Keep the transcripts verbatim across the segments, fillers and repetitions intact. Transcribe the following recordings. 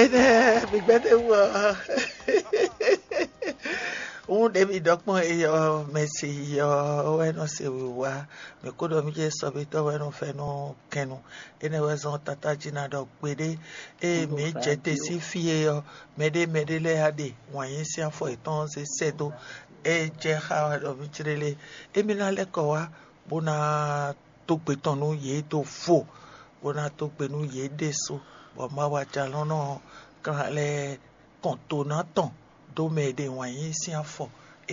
Énɛ́ mi gbɛ́ ɖ'é wú ɔ́. Wún ɖě mi ɖɔ kpɔ́n é ɔ́, mɛ se yi ɔ́ wɛ nɔ se wǐwá. Mǐ kó ɖɔ mì jɛ sɔ́bítɔ́ wɛ nɔ fɛ́nú kɛnnu. Énɛ́ wɛ zɔ́n tátájí ná ɖɔ kpeɖé. Ée mǐ jɛ te sín fí é ɔ́, mɛɖé mɛɖé lɛ́ɛ á ɖe wǎn yí sín afɔ yětɔn zé sɛ́ dó. É jɛ xá wɛ ɖɔ mì clélé. Émí ná lɛ́ kɔ wá bó ná dó gbe tɔn nú yě dó vo, bó ná dó gbe nú yě ɖésú, bɔ Mawu Ajalɔ̌nlɔn ɔ́ kán lɛ́ kɔn to ná tɔn dó mɛ e ɖe wǎn yí sín afɔ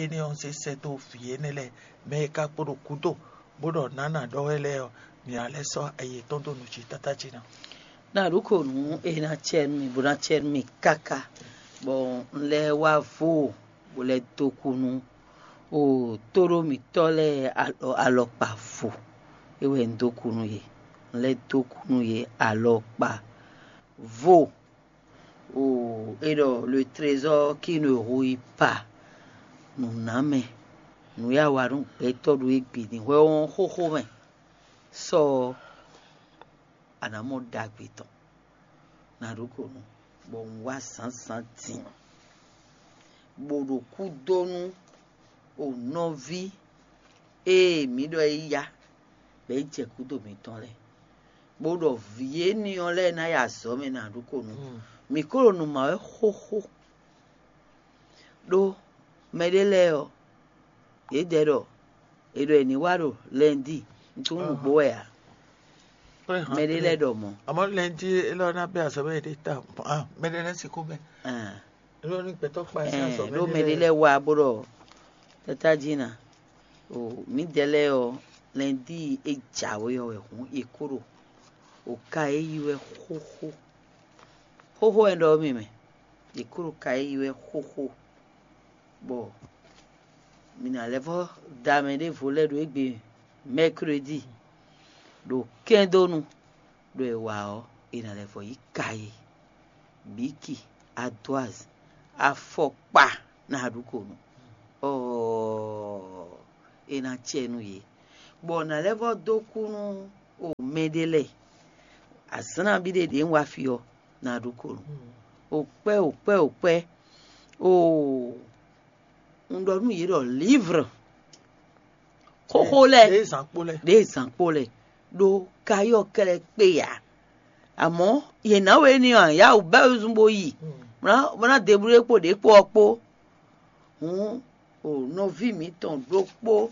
énɛ́ ɔ́ zé sɛ́ dó vǐ énɛ́ lɛ́ɛ, mɛ e ka kpo ɖo gǔdo, bó ɖɔ nǎ nǎ ɖɔ wɛ lɛ́ɛ ɔ́, mǐ ná lɛ́ sɔ́ ayi yětɔn dó nǔ jí tátájí ná. Ná ɖǒ ko nǔ e ná cɛ nú mì, bó ná cɛ nú mì káká, bɔ un lɛ́ wá vo, bó lɛ́ dó kú nú o tóɖó mǐtɔ́ lɛ́ɛ alɔ alɔkpa vo. É wɛ un dó kú nú yě. Un lɛ́ dó kú nú yě alɔkpa vo. O é ɖɔ le trésor qui ne rouille pas. Nǔnámɛ, nǔ e a wa nú gbɛtɔ́ ɖo égbé din hwɛ ɔ́ xóxó mɛ. Sɔ ɔ́, a nǎ mɔ ɖagbe tɔn. Ná ɖó ko nú, bɔ un wá zǎnzǎn din, bó ɖo kú dó nú o nɔví e mǐ ɖɔ é yá, bɔ é jɛ gǔdo mǐtɔn lɛ́ɛ, bó ɖɔ vǐ énɛ́ ɔ́ lɛ́ɛ ná yi azɔ̌ mɛ ná ɖó ko nú. Mǐ ko ɖo nǔ ma wɛ xóxó, ɖó mɛɖé lɛ́ɛ ɔ́, yědɛɛ ɖɔ è ɖɔ è nǐ wá ɖo lɛndí, un tunwun nǔgbó wɛ ǎ. Mɛɖé lɛ́ɛ ɖɔ mɔ̌. Àmọ́ lɛndí élɔ́ ná bɛ́ azɔ̌ mɛ ɖé ta. Mɛɖé lɛ́ɛ sixú bɛ́. Élɔ́ ní gbɛtɔ́ kpa ɛ sín azɔ̌ mɛ ɖó mɛɖé lɛ́ɛ wá bó ɖɔ tata jí ná. O mǐdɛɛ lɛ́ɛ ɔ́, lɛndí e jǎwe ɔ́ wɛ hǔn è kó ɖo o ka e yí wɛ xóxó. Xóxó wɛ ɖɔ mì mɛ, è kó ɖo ka e yí wɛ xóxó, bɔ mǐ ná lɛ́ vɔ́ da mɛ ɖěvo lɛ́ɛ ɖo égbé mɛkredi, ɖo kɛ́ndónu, ɖo è wa ɔ́, è nǎ lɛ́ vɔ́ yí ka e, bǐki, adwaz, afɔkpa ná ɖu ko nú. Ɔɔ, è nǎ cɛ nú yě, bɔ nǎ lɛ́ vɔ́ dó kú nú o mɛɖé lɛ́ɛ. Azǎn nabí ɖé ɖě un wá fí ɔ́, ná ɖu ko nú. O kpɛ́, o kpɛ́, o kpɛ́, o un ɖɔ nú yě ɖɔ lǐvr xóxó lɛ́ɛ, ɖěe zǎn kpó lɛ́ɛ, ɖěe zǎn kpó lɛ́ɛ, ɖó kayɔ́ kɛlɛ kpé ǎ. Àmọ́ yě ná we ní ɔ́, yá wǔ bɛ́ wezun bó yi, bó ná bó ná deblúɖé kpo ɖě kpo ɔ́ kpó. Hǔn o nɔví mǐtɔn ɖokpó,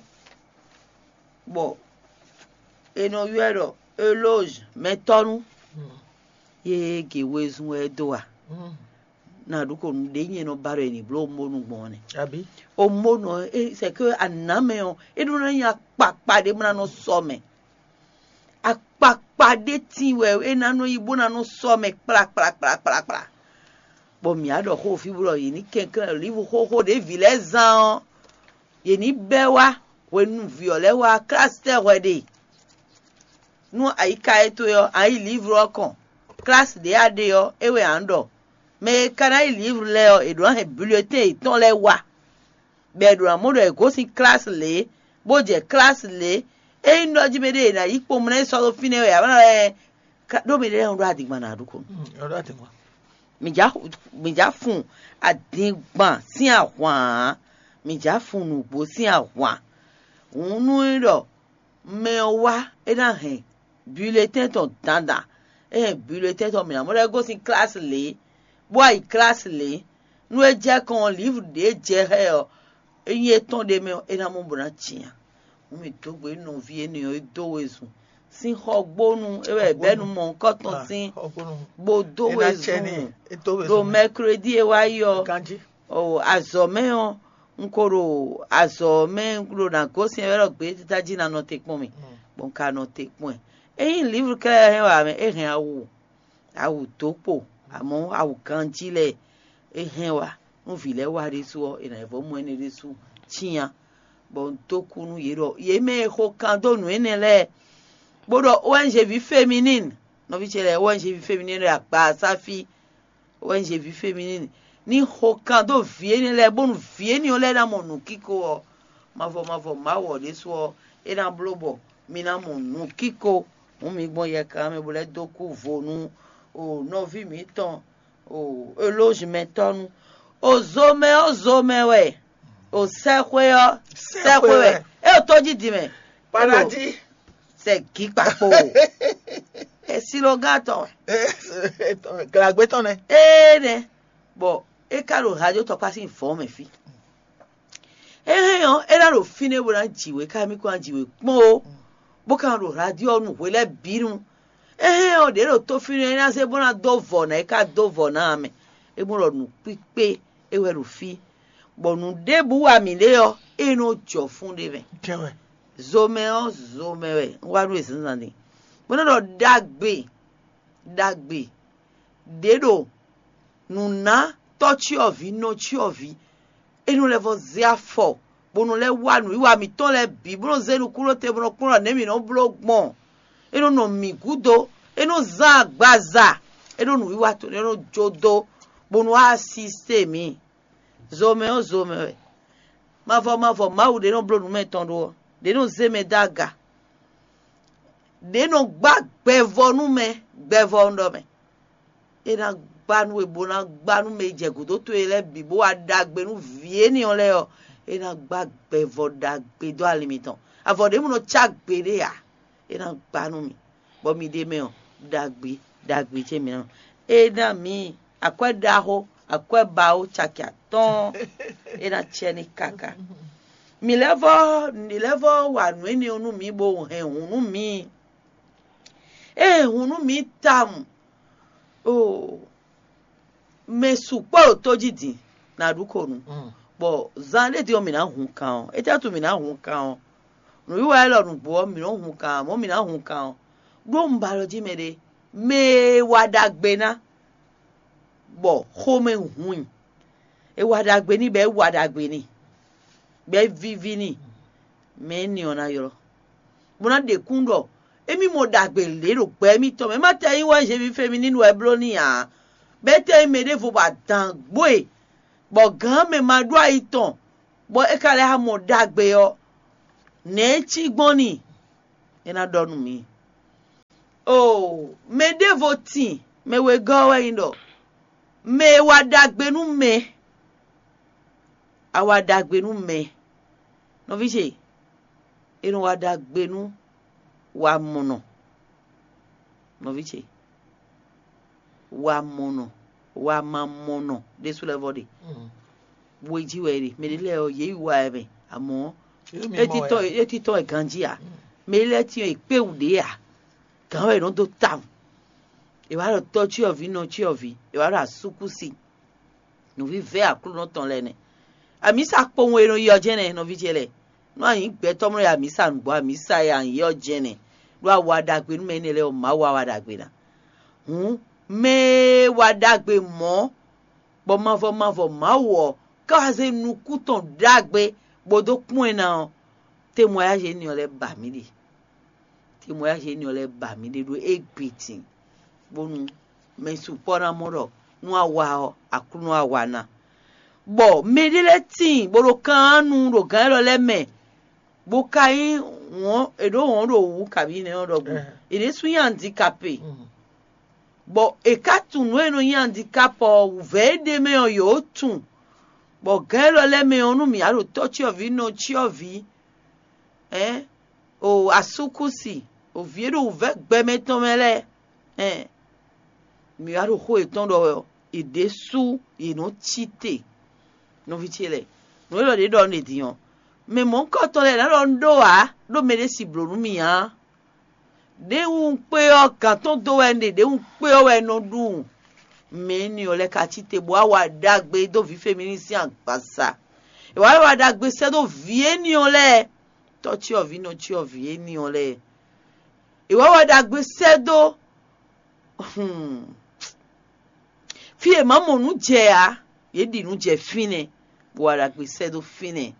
bɔ è nɔ ylɔ́ ɛ ɖɔ Elózh mɛtɔ́nú, yě ge wezun wɛ é dó a? Ná ɖu ko nǔɖé nyɛ nɔ ba ɖɔ è nǐ bló omónu gbɔn ɔ́ nɛ́. Abǐ? Omónu ɔ́, é c'est que anǎmɛ ɔ́, é ɖó ná nyí akpakpa ɖé bó ná nɔ sɔ mɛ. Akpakpa ɖé tíin wɛ é ná nɔ nyí bó ná nɔ sɔ mɛ kplakplakplakplakpla. Bɔ mǐ á ɖɔ xó fí bó ɖɔ yě ní kɛnklɛ́n ɖo lívu xóxó ɖě vǐ lɛ́ɛ zán ɔ́, yě ní bɛ́ wá hwenu vǐ ɔ́ lɛ́ɛ wá klásitɛ́ hwɛ ɖe. Nú ayiká e towe ɔ́, a yi livru ɔ́ kɔn, klasi ɖě a ɖe ɔ́, é wɛ a nǎ ɖɔ. Mɛ e ka ná yi livru lɛ́ɛ ɔ́, è ɖǒ ná hɛn bulletɛn yětɔn lɛ́ɛ wa, bɔ è ɖǒ ná mɔ ɖɔ è gosín klasi lě, bó jɛ klasi lě. Ényí un ɖɔ jí mɛɖé è nǎ yi kpomlá yi sɔ́ ɖó fínɛ́ wɛ ǎ, bó ná lɛ́ɛ ɖó mɛɖé lɛ́ɛ ɖó adingban ná ɖu ko. Mǐ já mǐ já fun adingban sín ahwan ǎ, mǐ já fun nǔgbó sín ahwan. Hǔn nú é ɖɔ mɛ ɔ́ wá, é ná hɛn bulletɛn tɔn dandan. É hɛn bulletɛn tɔn mǐ ná mɔ ɖɔ é gosín klasi lě, bó wá yi klasi lě. Nú é jɛ kɔn ɔ́, livru ɖě jɛ xá ɛ ɔ́, ényí é tɔ́n ɖ'é mɛ ɔ́, é ná mɔ bó ná cyán. Hǔn mǐ dó gbe nɔví énɛ́ ɔ́, é dó wezun sín xɔgbónu, é wɛ bɛ́nu mɔ̌hunkɔtɔn sín, bó dó wezun ɖo mɛkredi e wá yi ɔ́. O azɔ̌ mɛ ɔ́, un ko ɖo azɔ̌ mɛ, un ɖo nǎ gosín ɛ wɛ ɖɔ gbětají ná nɔ te kpɔ́n mì, bɔ un ka nɔ te kpɔ́n ɛ. Ényí livru kɛ́ɖɛ́ hɛn wɛ ǎ mɛ, é hɛn awu, awu dǒkpo, amɔ̌ awu ganjí lɛ́ɛ é hɛn wá. Nú vǐ lɛ́ɛ wá ɖésú ɔ́, è nǎ yi vɔ́ mɔ énɛ́ ɖésú cyán, bɔ un dó kú nú yě ɖɔ yě mɛ e xo kan dó nǔ énɛ́ lɛ́ɛ, bó ɖɔ O N G ví féminine, nɔví ce lɛ́ɛ O N G ví féminine ɖo akpa Asáfi, O N G ví féminine ní xo kan dó vǐ énɛ́ lɛ́ɛ, bónú vǐ énɛ́ ɔ́ lɛ́ɛ ná mɔ nǔkíko ɔ́, mavɔ mavɔ Mawu ɔ́ ɖésú ɔ́, é ná bló bɔ mi ná mɔ nǔkíko. Hǔn mi gbɔn yɛkan mɛ bó lɛ́ dó kú vo nú o nɔví mǐtɔn O elózumɛtɔ́nu, o zomɛ ɔ́ zomɛ wɛ, o sɛxwé ɔ́ sɛxwé wɛ. É o tó jí din mɛ. Paradis. Sɛ gǐ kpakpo. Esilogán tɔn wɛ. Glagbe tɔn nɛ. Ee nɛ. Bɔ é ka ɖo radio tɔkpá sín vɔ̌ mɛ fí. É hɛn ɔ́, é ná ɖo fínɛ́ bó ná jǐ we, ká mì kó ná jǐ we kpɔ́n ó, bó ka nɔ ɖo radio ɔ́ nu hwe lɛ́ɛ bǐ nu. É hɛn ɔ́, ɖě ɖo tó fínɛ́ é ná zé bó ná dó vɔ̌ ná é ká dó vɔ̌ ná ǎ mɛ. É mɔ ɖɔ nǔkpíkpé é wɛ ɖo fí, bɔ nǔ ɖěbǔ wa mǐ ɖe ɔ́, é nɔ jɔ fún ɖé mɛ. Zomɛ ɔ́, zomɛ wɛ un wá nú e zǎnzǎn din, bó nɔ́ ɖɔ ɖagbe ɖagbe ɖě ɖo nǔ ná tɔ́cyɔvǐ nɔcyɔvǐ, é nɔ lɛ́ vɔ́ zé afɔ, bó nɔ lɛ́ wá nǔwiwa mǐtɔn lɛ́ɛ bǐ, bó nɔ zé nukúnnú te, bó nɔ kplɔ́n nɛ̌ mǐ nɔ bló gbɔn. É nɔ nɔ mǐ gúdo, é nɔ zán agbaza, é nɔ nǔwiwa tɔn, é nɔ jó dó, bó nɔ wá asisté mǐ. Zomɛ ɔ́, zomɛ wɛ. Mavɔ mavɔ Mawu ɖě nɔ bló nǔ mɛ tɔn ɖó ɔ́, ɖě nɔ zé mɛ dó aga, ɖě nɔ gbá gbɛvɔ nú mɛ, gbɛvɔ un ɖɔ mɛ. É ná gbá nú we, bó ná gbá nú mɛ e jɛ gǔdo towe lɛ́ɛ bǐ, bó wá ɖagbe nú vǐ énɛ́ ɔ́ lɛ́ɛ ɔ́, é ná gbá gbɛvɔ ɖagbe dó ali mitɔn. Avɔ ɖěbǔ nɔ cá gbeɖé ǎ, é ná gbá nú mi, bɔ mi ɖ'é mɛ ɔ́, ɖagbe ɖagbe ce mi ná. É ná mǐ akwɛ́ ɖaxó, akwɛ́ bawo caki atɔ́ɔ́n, é ná cɛ ní káká. Mǐ lɛ́ vɔ́, mǐ lɛ́ vɔ́ wa nǔ énɛ́ ɔ́ nú mǐ, bó hɛn hǔn nú mǐ. Ée hun nú mǐ tawun, oo, mɛ sukpɔ́ ɖo tó jí din, nǎ ɖu ko nu, bɔ zan ɖé din ɔ́, mǐ ná hun kan ɔ́. Étɛ́ wútu mǐ ná hun kan ɔ́? Nǔwiwa élɔ́ nǔgbó ɔ́, mǐ nɔ́ hun kan ǎ, mɔ̌ mǐ ná hun kan ɔ́. Ɖó un ba alɔ jí mɛɖé, mɛ e wa ɖagbe ná, bɔ xomɛ hun i. È wa ɖagbe n'i, bɔ é wa ɖagbe n'i, bɔ é víví n'i, mɛ énɛ́ ɔ́ ná ylɔ́, bó ná ɖe kún ɖɔ émí mɔ ɖagbe lě ɖo gbɛ émítɔn mɛ. É má tɛ nyí wɛ Zevi Femininu wɛ bló n'i ǎ, bɔ é tɛ nyí mɛ ɖěvo bɔ adǎn gbo e, bɔ gǎn mɛ ma ɖó ayi tɔn, bɔ é ka lɛ́ mɔ ɖagbe ɔ́, nɛ̌ é cí gbɔn n'i? É ná ɖɔ nú mǐ. Oo, mɛ ɖěvo tin, mɛ wegɔ́ ɔ́ wɛ nyí ɖɔ mɛ e wa ɖagbe nú mɛ, a wa ɖagbe nú mɛ. Nɔví ce, è nɔ wa ɖagbe nú wamɔnɔ. Nɔví ce, wamɔnɔ, wamamɔnɔ ɖésú lɛ́ɛ vɔ ɖe. We jí wɛ è ɖe. Mɛ ɖé lɛ́ɛ ɔ́, yě yi wa ɛ mɛ, amɔ̌ é títɔn wɛ ganjí ǎ. Mɛ ɖé lɛ́ɛ tín ɔ́, è kpé wǔ ɖě ǎ. Gǎn wɛ è nɔ dó tawun. È wǎ ɖɔ tɔ́ cyɔ́vǐ, nɔ cyɔ́vǐ, è wǎ ɖɔ asúkúsi. Nǔvívɛ́ Aklúnɔ tɔn lɛ́ɛ nɛ́. Amǐsa kpowun e nɔ yi ɔ́ jɛ́n nɛ́, nɔví ce lɛ́ɛ. Nú a nyǐ gbɛtɔ́ mlɔ́ yi amǐsa nǔgbó, amǐsa e a nyǐ ɔ́ jɛ́n nɛ́, ɖó a wa ɖagbe nú mɛ énɛ́ lɛ́ɛ ɔ́, Mawu wá wa ɖagbe ná. Hǔn, mɛ e wa ɖagbe mɔ̌, bɔ mavɔ mavɔ Mawu ɔ́ ká wá zé nukún tɔn ɖagbe bó dó kpɔ́n ɛ ná ɔ́, témoignage énɛ́ ɔ́ lɛ́ɛ ba mǐ ɖe. Témoignage énɛ́ ɔ́ lɛ́ɛ ba mǐ ɖe ɖó égbé din, bónú mɛ sukpɔ́ ná mɔ ɖɔ nú a wa ɔ́, Aklúnɔ a wa ná. Bɔ mɛɖé lɛ́ɛ tíin bó ɖo kan nu ɖo gǎn élɔ́ lɛ́ɛ mɛ, bó ka nyí wɔ̌n è ɖǒ wɔ̌n ɖo wǔ kabǐ nɛ́ ɔ́ ɖɔhun. È ɖésú nyí andikapé, bɔ è ka tunwun nǔ e nɔ nyí andikapé ɔ́, wǔvɛ́ e ɖ'é mɛ ɔ́, yǒ tunwun. Bɔ gǎn élɔ́ lɛ́ɛ mɛ ɔ́, nú mǐ wá ɖo tɔ́ cyɔ́vǐ, nɔ cyɔ́vǐ, ɛ̌, o asúkúsi, o vǐ e ɖo wǔvɛ́ gbɛmɛ tɔn mɛ lɛ́ɛ, ɛ̌, mǐ wá ɖo xó yětɔn ɖɔ wɛ ɔ́, yě ɖésú yě nɔ cí te. Nɔví ce lɛ́ɛ, nǔ élɔ́ ɖě ɖɔ un ɖe din ɔ́, mɛ mɔ̌hunkɔtɔn lɛ́ɛ ná ɖɔ un ɖó ǎ, ɖó mɛɖé si blǒ nú mì ǎ. Ɖěwu un kpé ɔ́, gǎn tɔn dó wɛ un ɖe, ɖěwu un kpé ɔ́ wɛ un nɔ ɖu. Mɛ énɛ́ ɔ́ lɛ́ɛ ka cí te bó wá wa ɖagbe dó vǐ Femininu sín agbaza. È wǎ wá wa ɖagbe sɛ́ dó vǐ énɛ́ ɔ́ lɛ́ɛ, tɔ́ cyɔ́vǐ, nɔ cyɔ́vǐ énɛ́ ɔ́ lɛ́ɛ. È wǎ wa ɖagbe sɛ́ dó, hmm, fí e è mǎ mɔ nǔ jɛ ǎ, yě ɖi nǔ jɛ fínɛ́, bó wa ɖagbe sɛ́ dó fínɛ́.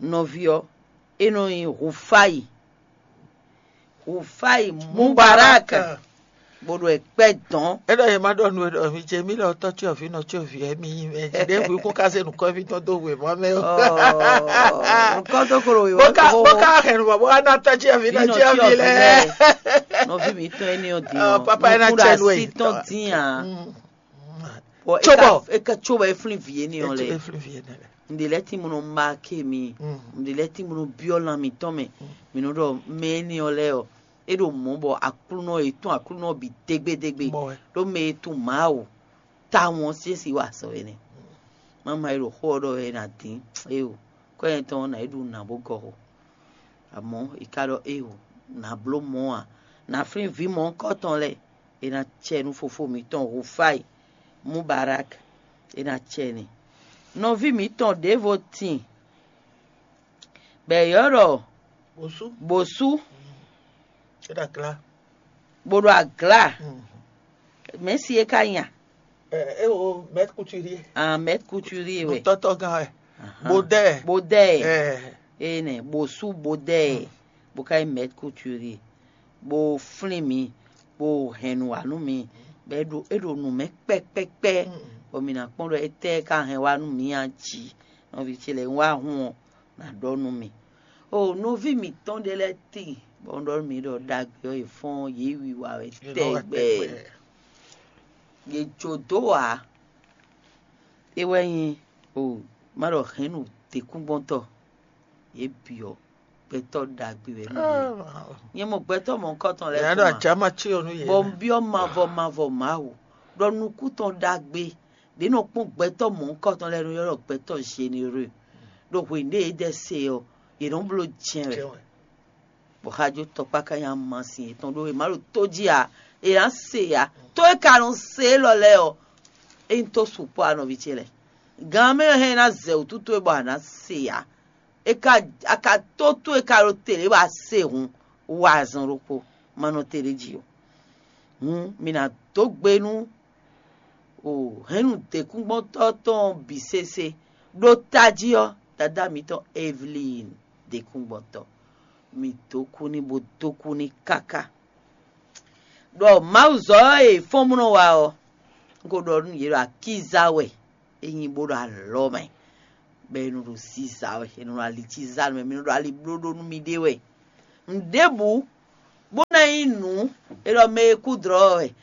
Nɔví ɔ́, é nɔ nyí Hufáyi. Hufáyi Mubarak. bó ɖo ɛ kpɛ dɔn. É ɖɔ yě má ɖɔ nú we ɖɔ mi ce mí lɔ tɔ́ cyɔvǐ nɔ cyɔvǐ wɛ mi nyí mɛ jí ɖěbǔ kún ká se nǔkɔ́ví tɔn dó wěma mɛ ó. Nukɔn tó kolo wíwá Bó ká bó ká hɛn nǔ bɔ bó ká ná tɔ́ cyɔvǐ nɔ cyɔvǐ lɛ. Nɔví mi tɔn ɛni ɔ́ dín Ah, papa ɛ ná tsɛ nú ɛ. Tɔn dín a. Tso bɔ. Eka tso bɔ eflin vi ɛni ɔ lɛ. Eflin vi ɛnɛ lɛ. Ŋɖe lɛ́ɛ tín bó nɔ má ké mi. Ŋɖe lɛ́ɛ tín bó nɔ byɔ́ lan mǐtɔn mɛ. Mǐ nɔ ɖɔ mɛ énɛ́ ɔ́ lɛ́ɛ ɔ́, é ɖo mɔ̌ bɔ Aklúnɔ yětɔn Aklúnɔ bǐ dégbédégbé. Mɔ wɛ. Ɖó mɛ e tunwun Mawu tawun ɔ́ sín si wa azɔ̌ énɛ́. Mama e ɖo xó ɔ́ ɖɔ wɛ è nǎ dín éo, kɔ́nyɛ tɔn ɔ́ nǎ yi ɖu nǔ ná bó gɔ́ xo. Amɔ̌ è ka ɖɔ éo, nǎ bló mɔ̌ ǎ. Nǎ flín vǐ mɔ̌hunkɔtɔn lɛ́ɛ, è nǎ cɛ nú fofó mǐtɔn Hufáyi Mubarak, è nǎ cɛ n'i. Nɔví mǐtɔn ɖěvo tin bɔ è ylɔ́ ɖɔ Bosú. Bosú É ɖo aglá. bó ɖo aglá. Mɛ̌si é ka nya? É o mɛt kuturi. Ahmed Couturier wɛ. Tɔtɔ gán wɛ. Ahan. Bodɛ. Bodɛ. Ɛ. Ene Bosú Bodɛ. Bó ka nyí Maître Couturier. Bó flín mi, bó hɛn nǔ wá nú mi. Bɔ é ɖo é ɖo nǔ mɛ kpɛkpɛkpɛ. Bɔ mi ná kpɔ́n ɖɔ étɛ́ ka hɛn wá nú mi a jí. Nɔví ce lɛ́ɛ wá hun ɔ́, ná ɖɔ nú mi. O nɔví mǐtɔn ɖé lɛ́ɛ tíin, bɔ un ɖɔ nú mi ɖɔ ɖagbe ɔ́, è fɔ́n yě wiwa wɛ tɛgbɛ. Yě jó dó ǎ. É wɛ nyí o má ɖɔ hɛ̌nnu děkúngbɔ́ntɔ́. Yě bǐ ɔ́, gbɛtɔ́ ɖagbe wɛ nú yě. Nyɛ mɔ gbɛtɔ́ mɔ̌hunkɔtɔn lɛ́ɛ Yàrá kpɔ́n àjá má cí ɔnú yě. Bɔ un byɔ́ mavɔ mavɔ Mawu ɖɔ nukún tɔn ɖagbe ɖě nɔ kpɔ́n gbɛtɔ́ mɔ̌hunkɔtɔn lɛ́ɛ nɔ ylɔ́ ɖɔ gbɛtɔ́ généreux. Ɖo hwenu ɖé yě ɖɛ se ɔ́, yě nɔ bló jɛ́n wɛ. Bɔ xajo tɔkpá ka nyi amasin yětɔn ɖó è má ɖo tó jí ǎ. È nǎ se ǎ. Tó e ka nɔ se élɔ́ lɛ́ɛ ɔ́, é nyí tó sukpɔ́ ǎ nɔví ce lɛ́ɛ. Gan mɛ hɛn ná zɛ wǔtu towe bɔ a nǎ se ǎ. É ka a ka tó towe ka ɖo te lě bɔ a se hǔn wa azɔn ɖokpó ma nɔ te ɖ'é jí ó. Hǔn mi ná dó gbe nú o hɛ̌nnu děkúngbɔ́ntɔ́ tɔn bǐ sésé. Ɖó tají ɔ́, dadá mitɔn Evelyn děkúngbɔ́ntɔ́, mi dó kú ní bó dó kú ní káká. Ɖɔ Mawuzɔ́ e fɔ́n munɔ wa ɔ́, un ko ɖɔ nú yě ɖɔ akíza wɛ é nyí bó ɖo alɔ mɛ, bɔ è nɔ ɖo ziza wɛ, è nɔ ɖo ali cí za nú mɛ, mi nɔ ɖo ali bló ɖó nú miɖée wɛ. Nǔɖébǔ bó ná nyí nǔ e ɖɔ mɛ e kú dlɔ̌ wɛ,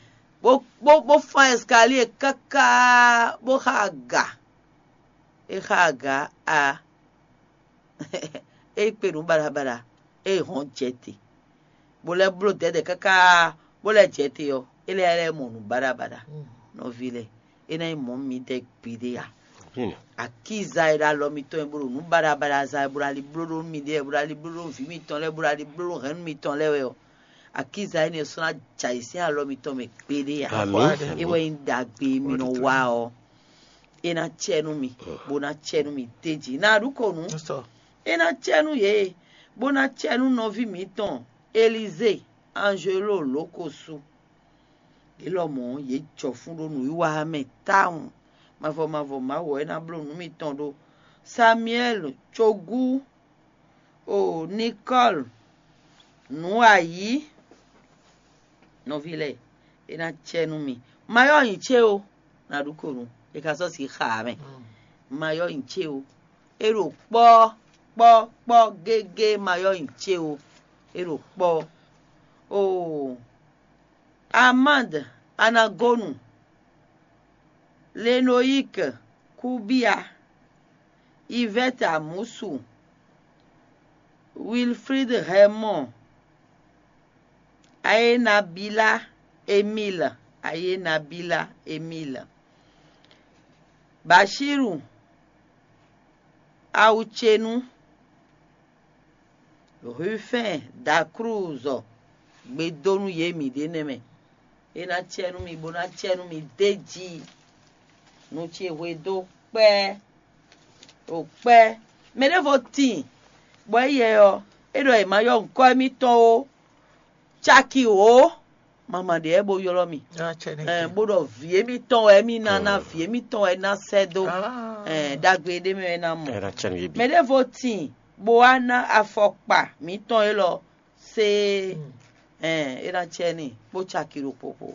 bó bó bó fán ɛskalíe káká bó xa aga. É xa aga a é kpe nǔ baɖabaɖa, é hɔn jɛ te, bó lɛ́ bló dɛ̌dɛ̌ káká bó lɛ́ jɛ te ɔ́, é lɛ́ lɛ́ mɔ nǔ baɖabaɖa. Nɔví lɛ́ɛ, é ná nyí mɔ̌ mi dɛ́ gbeɖé a? Akíza e ɖo alɔ mitɔn e bó ɖo nǔ baɖabaɖa za e bó ɖo ali bló ɖó nú miɖée wɛ, bó ɖo ali bló ɖó nú vǐ mitɔn lɛ́ɛ, bó ɖo ali bló ɖó hɛ̌nnu mitɔn lɛ́ɛ wɛ ɔ́, akíza énɛ́ ɔ́ sɔ́ ná jɛ ayǐ sín alɔ mitɔn mɛ gbeɖé a? Àmín. É wɛ nyí ɖagbe e mi nɔ wa ɔ́, é ná cɛ nú mi, bó ná cɛ nú mi d'é jí. Ná ɖu ko nǔ. É ná cɛ nú yě, bó ná cɛ nú nɔví mǐtɔn Elizée Anjelo Lókosu. Yě lɔmɔ̌ yě jɔ fún ɖó nǔwiwa mɛ tawun. Mavɔ mavɔ Mawu ɔ́ é ná bló nǔ mitɔn ɖó. Samuɛ́li cogú o Nikɔ́li nǔ ayǐ nɔví lɛ́ɛ, é ná cɛ nú mi. Mayɔ́ nyi cé o, ná ɖu ko nú è ka sɔ́ si xa ǎ mɛ. Mayɔ́ nyi cé o, é ɖo kpɔ́ kpɔ́ kpɔ́ gégé. Mayɔ́ nyi cé o, é ɖo kpɔ́. Oo Amand Anagonu, Lenoyik Kubia, Ivɛ́t Amusu, Wilfrid Hɛmɔn, Ayenabila Emil, Ayenabila Emil, Bashiru Awucenu, Rufɛ́n Daklúzɔ gbe dó nú yě mǐ ɖe nɛ́ mɛ. É ná cɛ nú mi bó ná cɛ nú mi d'é jí. Nu ce hwe dó kpɛ́ ɖo kpɛ́. Mɛ ɖěvo tíin, bɔ éyɛ ɔ́, é ɖɔ è ma ylɔ́ nyǐkɔ émítɔn ó, caki wǒ, mama ɖě wɛ bó ylɔ́ mi. Ɛɛ, bó ɖɔ vǐ émítɔn wɛ émí ná ná, vǐ émítɔn wɛ é ná sɛ́ dó. Ɛɛ, ɖagbe ɖé mɛ wɛ é ná mɔ. Mɛ ɖěvo tíin, bó wá ná afɔkpa mǐtɔn élɔ́ séé. Ɛn, é ná cɛ n'i bó caki ɖo kpokpo.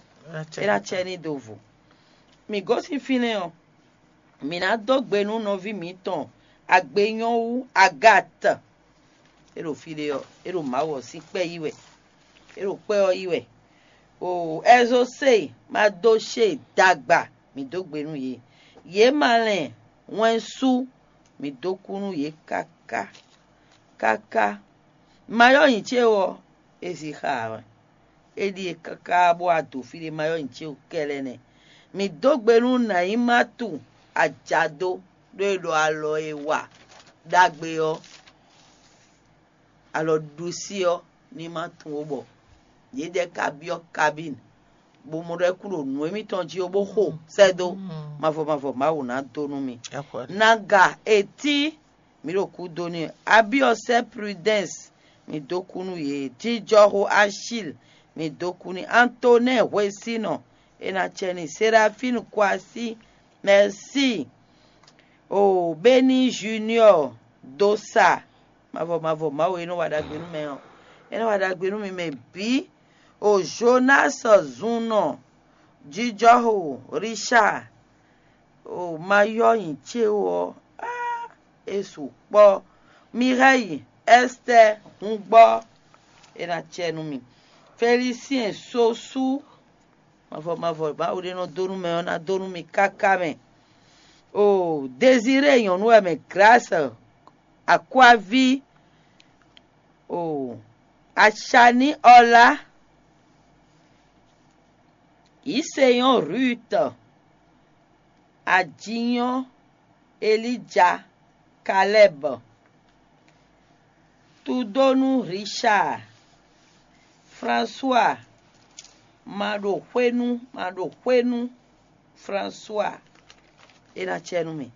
É ná cɛ n'i do vo. Mǐ gosín fínɛ́ ɔ́, mǐ ná dó gbe nú nɔví mǐtɔn agbenyɔ́wú Agatɛ. É ɖo fí ɖé ɔ́, é ɖo Mawu ɔ́ sín kpɛ́ yí wɛ. É ɖo kpɛ́ ɔ́ yí wɛ. O Ɛzosée, Madoshée dagba, mǐ dó gbe nú yě. Yě ma lɛn wɛn sú, mǐ dó kú nú yě káká. Káká. Mayɔ́ nyi ce ɔ́, é zi xa ǎ wɛ. É ɖíe káká bó wá do fí ɖé mayɔ́ nyi ce kɛlɛ nɛ́. Mǐ dó gbe nú Nayimatu ajado ɖó e ɖɔ alɔ e wa ɖagbe ɔ́, alɔ ɖusí ɔ́ ní ma tunwun ó bɔ yědɛɛ ka byɔ́ kabín, bó mɔ ɖɔ é kú ɖo nǔ émítɔn jí ó bó xo sɛ́ dó. Mavɔ mavɔ Mawu ná dó nú mi. Naga etí, mǐ ɖo kú dó n'i. Abiɔsɛ Prudence, mǐ dó kú nú yě. Jijɔxo Achil, mǐ dó kú n'i. Antonɛ hwesínɔ, é ná cɛ n'i. Serafín Kwasí, mɛsí. O Beni Junior dó sa. Mavɔ mavɔ Mawu e nɔ wa ɖagbe nú mɛ ɔ́, é nɔ wa ɖagbe nú mi mɛ bǐ. O Jonas Zunnɔ, jijɔxo Richard, o ma yɔ nyi ce ó ɔ́, é sukpɔ́. Mireille, Esther, hun gbɔ, é ná cɛ nú mi. Félicien Sosu, mavɔ mavɔ Mawu ɖé nɔ dó nú mɛ ɔ́ ná dó nú mi káká mɛ. O Désiré nyɔ̌nu wɛ mɛ Grâce, Akwaví, o Achani Ɔlá, Yiseyɔn Ruth, Ajinyɔ́ Elija, Kalɛ́b, Tudónú Richard, François, Maɖoxwénú, Maɖoxwénú, François, é ná cɛ nú mì.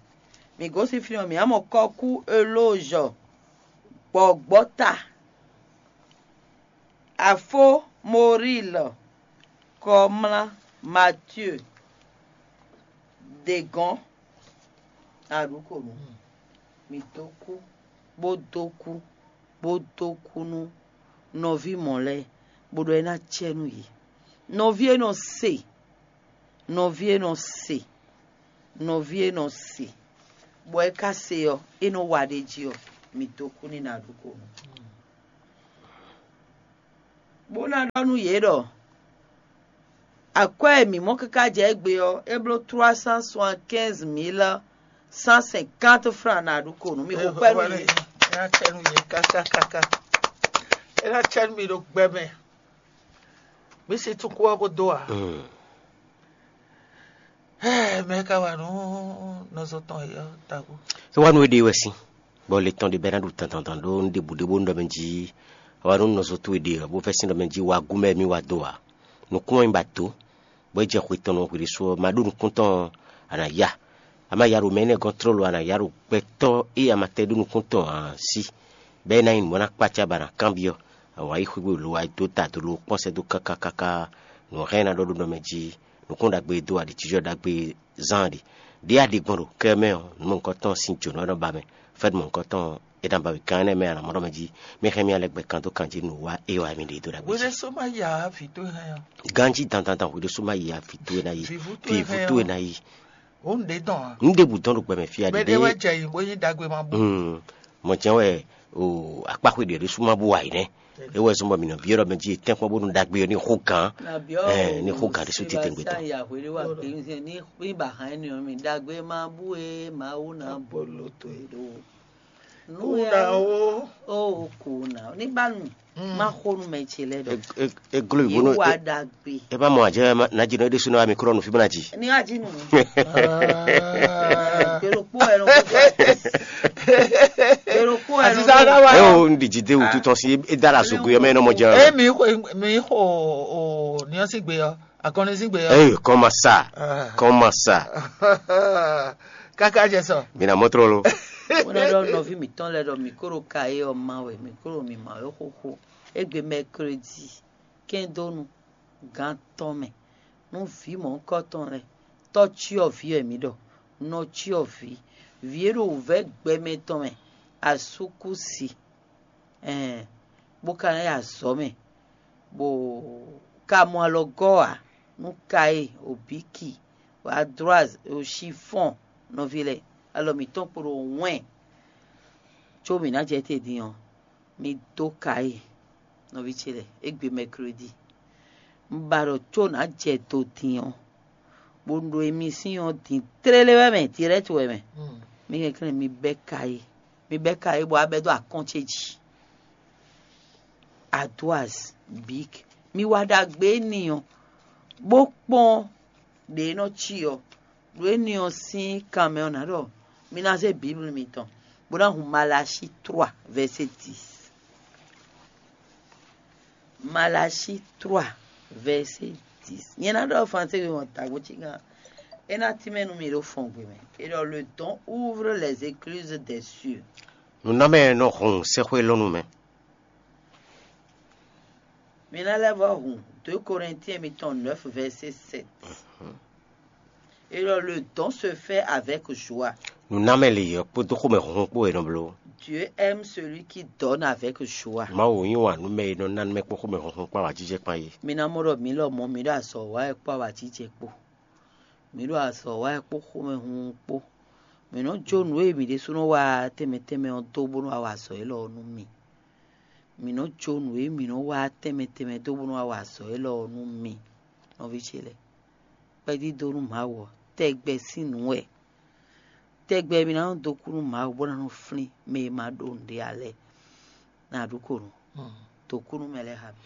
Mǐ gosín fínɛ́ ɔ́, mǐ ná mɔ kɔ́kú Elózɔ, gbɔ̌gbɔ́ta, Afó Moríl, Kɔmlá Matyée, Degɔ́n, aɖǔkonu. Mǐ dó kú, bó dó kú, bó dó kú nú nɔví mɔ̌ lɛ́ɛ, bó ɖɔ é ná cɛ nú yě. Nɔví e nɔ se, nɔví e nɔ se, nɔví e nɔ se, bɔ é ka se ɔ́, é nɔ wa ɖ'é jí ɔ́, mǐ dó kú n'i nǎ ɖu ko nú. Bó ná ɖɔ nú yě ɖɔ akwɛ́ e mǐ mɔ káká jɛ égbé ɔ́, é bló trois cent soixante-quinze mille cent cinquante francs nǎ ɖu ko nú mì xo kpɛ́ nú yě. É ná cɛ nú yě káká káká. É ná cɛ nú mi ɖo gbɛ mɛ. Mǐ si tún kú ɔ́ ko dó ǎ. Mɛ ka wa nǔ nɔzo tɔn e ɔ́ tabu. É wá nú éɖée wɛ sín, bɔ le tɔn ɖé bɛ́ ná ɖu dandandan ɖó un ɖěbǔ ɖé bónú ɖɔ mɛ jí é wá nú nɔzo towe ɖe ɔ́, bó vɛ́ sín ɖɔ mɛ jí wá gú mɛ mì wá dó ǎ. Nǔkún ɔ́ nyí ba dó, bɔ é jɛ xwe tɔn nɔ hwǐɖésú ɔ́, ma ɖó nukún tɔn ɔ́, a nǎ ya. A ma ya ɖo mɛ énɛ́ gɔ́n tlóló, a nǎ ya ɖo gbɛtɔ́ e a ma tɛ́ ɖó nukún tɔn ǎ sí, bɔ é ná nyí nǔ bó ná kpácá bɔ a nǎ kanbyɔ́. Awǎ yi xwé gbe lo wá dó ta dó lo kpɔ́n sɛ́ dó káká káká. Nǔ hɛn ná ɖɔ ɖó nɔ mɛ jí, nǔkún ɖagbe e dó aɖǐ jijɔ ɖagbe zán aɖǐ. Ɖě a ɖe gbɔn ɖo kɛ mɛ ɔ́, nǔ mɔ̌hunkɔtɔn sín jǒnɔ ɔ́ nɔ ba mɛ, fɛ́nú mɔ̌hunkɔtɔn é ná ba mɛ gán énɛ́ mɛ a nǎ mɔ ɖɔ mɛ jí. Mi hɛn mì alɛ gbɛ kan dó kan jí nǔ wa é wa mi ɖe dó ɖagbe jí. Hweɖésú má ya vǐ towe hɛn ɔ́. Ganjí dandandan hweɖésú má yi a vǐ towe ná yi. Vǐvú towe Vǐvú hɛn towe ɔ́. Ná yi. Wǒ nǔɖé dɔn ǎ. Nǔ ɖěbǔ dɔn ɖo gbɛ mɛ fí a Mɛ ɖé ɖiɖe. Wɛ jɛ yi bó nyí ɖagbe ma bú. Mm, mɔ jɛ́n wɛ o akpáxwe ɖě ɖésú má bú wa yi nɛ́. É wɛ zɔ́n bɔ mǐ nɔ byɔ́ ɖɔ mɛ jí è tɛ́nkpɔ́n bónú ɖagbe ɔ́ ní xó gǎn. Ɛ, ní xó gǎn ɖésú tete gbé tɔn. Ní ba hàn ní mi ɖagbe má bú e Mawu ná bolo to e ɖo. Nú ya o o kò ná ní bá nù má xó nú mɛ ce lɛ ɖɔ. Eglo yě bónú wa ɖagbe. E má mɔ àjẹ́ ná jí nɔ é ɖésú ná wá mi kúrò nù fí bó ná jí. Ní wá jí nù. Gbèrò kpó ẹ lọ. Gbèrò kpó ẹ lọ. Ẹ o, n ɖi jí dé wútu tɔn sí é dára sógo yɛ mɛ nɔ mɔ jẹ. Emi xo mi xo o niɔsi gbe yɔ akɔni si gbe yɔ. Ey, kɔn ma sa, kɔn ma sa. Kaka jɛ sɔ. Mina mɔtrɔ lo. Wọ́n lọ nɔví mǐtɔn lɛ́ɛ ɖɔ mǐ kó ɖo ka é ɔ́ ma wɛ, mǐ kó ɖo mǐ ma wɛ xóxó. Égbé mɛkredi kɛ́ndónú gán tɔn mɛ nú vǐ mɔ̌hunkɔtɔn lɛ́ɛ, tɔ́ cyɔ́vǐ wɛ mǐ ɖɔ, nɔ cyɔ́vǐ, vǐ e ɖo wǔvɛ́ gbɛmɛ tɔn mɛ, asúkúsi, ɛɛn, bó ka ná yi azɔ̌ mɛ. bó ka mɔ alɔgɔ́ ǎ nú Kayi, Obíki, Adroaz, Oxifɔ́n nɔví lɛ́ɛ, alɔ mǐtɔn kpo ɖo wɛn. Có mǐ ná jɛ te din ɔ́, mi dó Kayi nɔví ce lɛ́ɛ égbé mɛklódi. Un ba ɖɔ có nǎ jɛ do din ɔ́, bó ɖo emisín ɔ́ din tlélé wɛ mɛ, dirɛ́ti wɛ mɛ. Mi kɛnklɛ́n mi bɛ́ Kayi, mi bɛ́ Kayi bɔ a bɛ́ dó akɔ́n ce jí. Adoaz, Bík, mi wa ɖagbe éni ɔ́, bó kpɔ́n ɖě e nɔ cí ɔ́, ɖo éni ɔ́ sín kan mɛ ɔ́, nǎ ɖɔ mi ná zé Biblu mitɔn, bó ná hun Malachie trois, verset dix. Malachie trois, verset dix. Nyɛ ná ɖɔ français we wɔn tagbó cí gán. É ná tínmɛ nú mi ɖo fɔngbe mɛ. É ɖɔ le don ouvre les écluses des cieux. Nǔnámɛ nɔ hun sɛ́xwé lɔ nú mɛ. Mi ná lɛ́ vɔ́ hun deux Corinthiens mitɔn neuf, verset sept. Et alors, le don se fait avec joie. Nǔnámɛ lǐyɔ́ kpódó xomɛhunhun kpó è nɔ bló. Dieu aime celui qui donne avec joie. Mawu yí wǎn nú mɛ e nɔ ná nú mɛ kpó xomɛhunhun kpó awǎjijɛ kpán é. Mi ná mɔ ɖɔ mǐ lɔmɔ̌ mǐ ɖo azɔ̌ wa wɛ kpó awǎjijɛ kpó. Mǐ ɖo azɔ̌ wa wɛ kpó xomɛhunhun kpó. Mǐ nɔ́ jó nǔ e mǐ ɖésúnɔ wa tɛnmɛ tɛnmɛ ɔ́ dó bónú wa wa azɔ̌ élɔ́ ɔ́ nú mì. Mǐ nɔ́ jó nǔ e mǐ nɔ́ wa tɛnmɛ tɛnmɛ dó bónú wa wa azɔ̌ élɔ́ ɔ́ nú mì, nɔví ce lɛ́ɛ. Kpɛdídó nú Mawu ɔ́, tɛgbɛ sín nǔ wɛ. Tɛgbɛ mi ná nɔ dó kú nú Mawu bó ná nɔ flín mɛ e ma ɖó nǔɖé ǎ lɛ́ɛ. Ná ɖu ko nú dó kú nú mɛ lɛ́ɛ xá mi.